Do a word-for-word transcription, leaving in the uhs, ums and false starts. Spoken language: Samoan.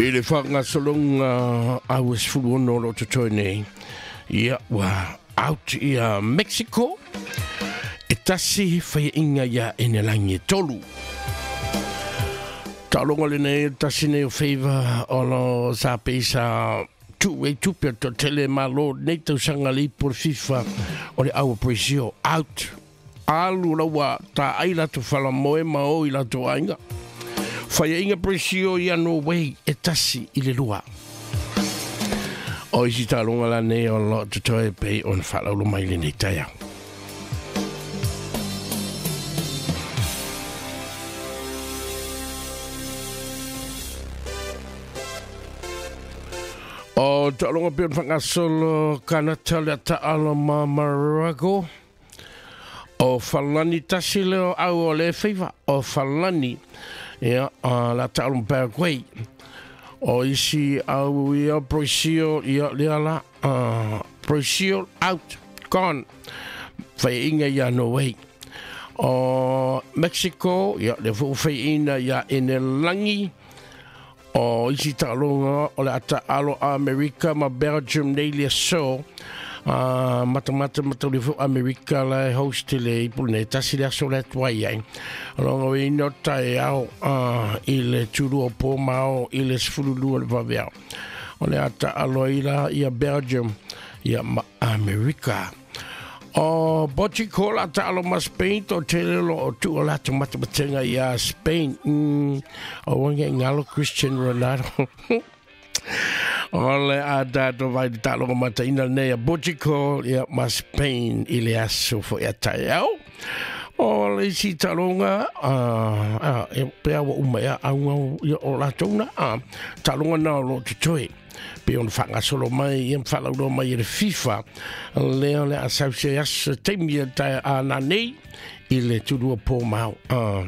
I le whangasolonga au e sefulu ono lo totoe nei. Ia ua out ia Mexico. E tasi whaiinga ia enelangi e tolu. Taolonga le nei tasi nei o favor o lo sa peisa tu e tupe to tele malo nei tausanga le ipo le FIFA o le aua Brazil out. Alu laua ta ai lato whalamoe ma o i lato ainga. Whaiinga Brazil ia no way e tasi i le lua. O isi taolonga la nei o lo totoe pei on whalaulo mai le nei taia. O taolonga pe on whangasolo Kanata le taalo ma Maroko. O whalani tasi leo au o le feiva. O whalani ia la taalo Paraguay. O isi au ia Brazil ia lea la Brazil out gone. Whaiinga ia Norway. O Mexico ia le fu whaiinga ia Enelangi. O isi taaloga o le ata alo Amerika ma Belgium nei le so uh, matamata matauli fu Amerika la host le ipu nei tasi le aso le atuai ai. Longa o ino tae ao uh, i le tulu o pō mao i le sefululua le vaveao. O le ata alo ila ia Belgium ia ma Amerika. O Portugal la taalo ma Spain to tele lo o tu o lato matamatenga ia Spain. Mm, o wange ngalo Cristiano Ronaldo. O le a tato vai taalo mata ina nei a Portugal ia ma Spain i le aso fo ia tai au. O le isi talonga uh, uh, e pea wa uma ia au ia o lato na uh, talonga na o lo tutoe. Pe on whangasolo mai, ia mwhalaulo mai e le FIFA. Lea le a sause aso teimi e tai a nā nei i le tulua pō mau. Uh,